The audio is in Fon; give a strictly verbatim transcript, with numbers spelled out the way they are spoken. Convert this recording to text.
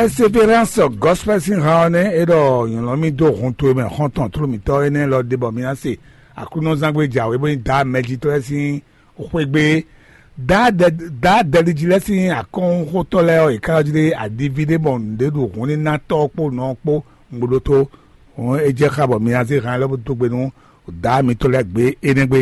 Espérance Gospel sín han ɔ́ nɛ́ é ɖɔ nyɔ̌lɔ́ mì dó hun towe mɛ xɔ́ntɔn tlóló mǐtɔn énɛ́ lɔ ɖe bɔ mi ná se Aklúnɔzángbé jǎwe bó nyí Daá mɛjitɔ́ lɛ́ɛ sín xwégbé. Daá dɛliji lɛ́ɛ sín akɔ́nxótɔ́ lɛ́ɛ ɔ́, yě ká ɔ́ jlé adiví ɖé bɔ nǔɖé ɖo hun ní ná tɔ́ ɔ́ kpó nɔ ɔ́ kpó. Un ɖótó é jɛ xá bɔ mi ná zé han lɛ́ɛ bó dó gbe nú Daá mitɔn lɛ́ɛ gbé énɛ́ gbé.